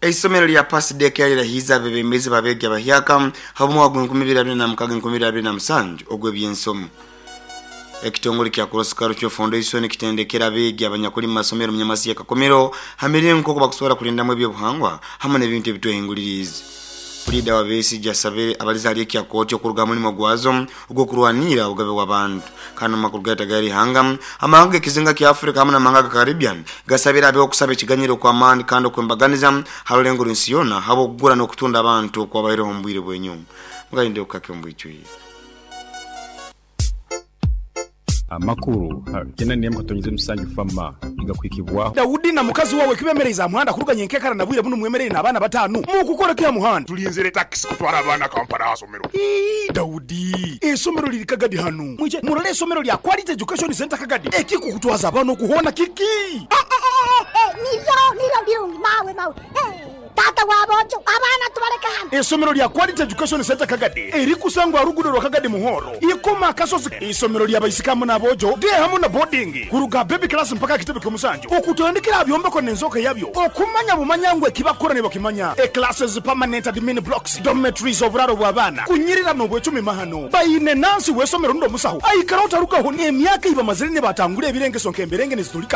Eisomero lya Pasidek lirahiize abebembezi babeegi abahyaka habw'omwaka gwa 2026 2027 ogw'ebyensomo. Ekitongole kya Cross Cultural Foundation kitendekera abeegi abanyakuli mu masomero mu Nyamasi ya Kakumiro ha miringo nk'oku bakusobora kulindamu ebyobuhangwa hamu n'ebintu ebitwehinguliriize. Puliida wa Besigye asabire abalize hali ekya kooti okuruga ha mulimo gwazo ogw'okurwaniira obugabe bw'abantu. Kandi omu makuru gaitu ag'eri ihanga, amahanga g'ekizinga kya Africa hamu n'amahanga ga Caribbean gasabire habeho okusaba ekiganyiro okw'amaani kandi okw'embaganiza ha rulengo rw'ensi yoona habw'okugura n'okutunda abantu okwabaireho omu bwire bw'enyuma. Mugayinde okukake omu bwijwire. Amakuru ha kenda n'emu katonyeza musanju FAMA nigakuhikibwaho. Daudi na mukazi wawe kibemereize aha muhanda kuruga nyenkekara na bwire bunu mwemereire n'abaana batanu. Mukukora ki aha muhanda? Tulinzire takisi kutwara abaana Kampala aha somero. Ii, Daudi, eisomero liri Kagadi hanu. Mwije murole eisomero lya Quality Education Centre Kagadi. Ekikukutwaza abaana okuhoona kiki? Niryo, niryo lirungi mawe, mawe. Taata wa boojo, abaana tubaleke hano. Eisomero lya Quality Education Centre Kagadi erikusangwa aha luguudo rwa Kagadi Muhoro, Ikoma Akasozi. Eisomero lya baisiki hamu n'aboojo, day hamu na boarding, kuruga aha baby class mpaka aha kitebe ky'omusanju, okutandikira aha byombeko n'enzooka yabyo, okumanya bumanya ngu ekibakukora nibakimanya. E Classes, permanent admin blocks, dormitories, oburaaro bw'abaana, kunyirira n'obwecumi mahano. Baine nansi w'eisomero rundi omusaho aikaraho tarugaho. Emyaka ei bamazire nibatangura ebirengeso nk'emberenge nizitulika.